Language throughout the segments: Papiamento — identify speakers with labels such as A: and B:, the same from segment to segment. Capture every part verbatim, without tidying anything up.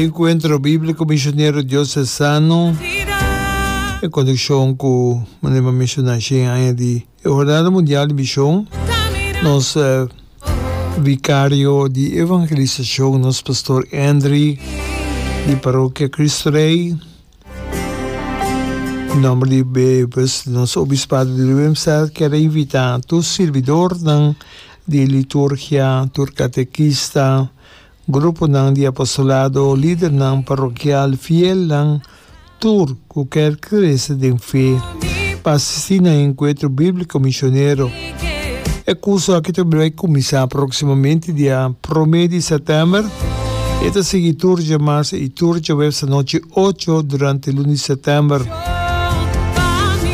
A: Enkuentro Bíbliko Misionero Diosesano en konekshon ku manera mi a menshoná shen aña di e Jornada Mundial di Mishon, nos Vikario di Evangelisashon, nos Pastor Andry di Parokia Cristo Rey, Nomber di pues nos Obispado di Willemstad kier a invita tur sirbidornan di liturgia, tur katekista, gruponan di apostolado, lidernan parokial, fielnan, tur ku kier krese den fe pa asisti na e enkuentro bíbliko misionero. E kurso aki ta bai kuminsá próksimamente dia promé di sètèmber. E ta sigui tur djamars i tur djaweps anochi ocho durante luna di sètèmber.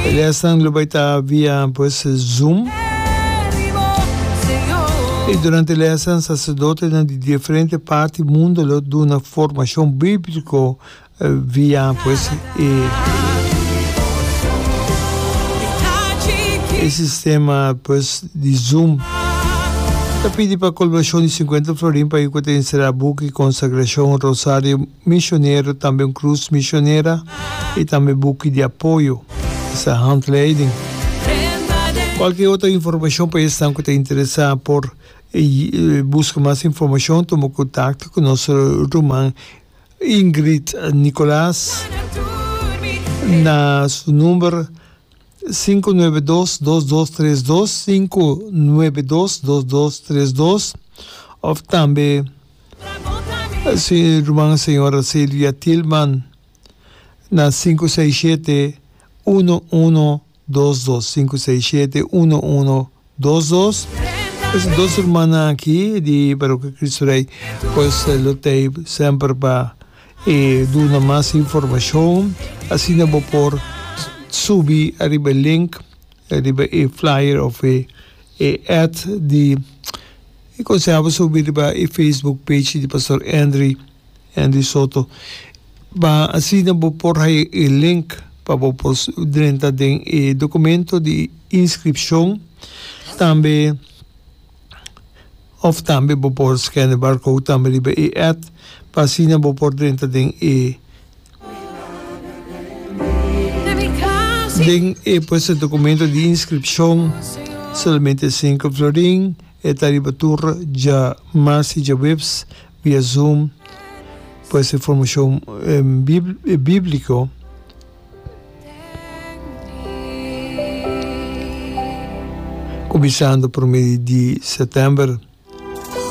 A: E lèsnan lo bai ta via pues Zoom. I durante e lèsnan saserdotenan di diferente parti mundu lo duna formashon bíbliko Via pues e e sistema pues di Zoom. Ta pidi pa kolaborashon di sinkuenta florin pa ku ta enserá buki konsagrashon, rosario misionero, tambe un krus misionera i tambe buki di apoyo, esta handleiding. Kualke otro informashon pa esnan ku ta interesá por buska mas informashon tuma kontakto ku nos ruman Ingrid Nicolaas na su number sinku nuebe dos, dos dos tres dos, sinku nuebe dos, dos dos tres dos, of tambe si ruman señora Silvia Tilman na sinku seis shete, uno uno dos dos, sinku seis shete, uno uno Dos dos. Es dos rumannan aki di Parokia Cristo Rey pues lo tei semper pa e duna mas informacion. Asina bo por subi ariba e link, ariba e flyer of e e ad di e conseha bo subi riba e Facebook page di Pastor Andry. Andy Soto, Pa asina bo por haya e link pa bo por drenta den e documento di inscripcion. Tambe of tambe bo por scan e barcode tambe riba e ad pa asina bo por drenta den e den e pues e documento di inscripcion. Solamente cinco florin. E ta riba tur dja mars y djaweps via Zoom. Pues e formashon bíbliko kuminsando promé di sètèmber.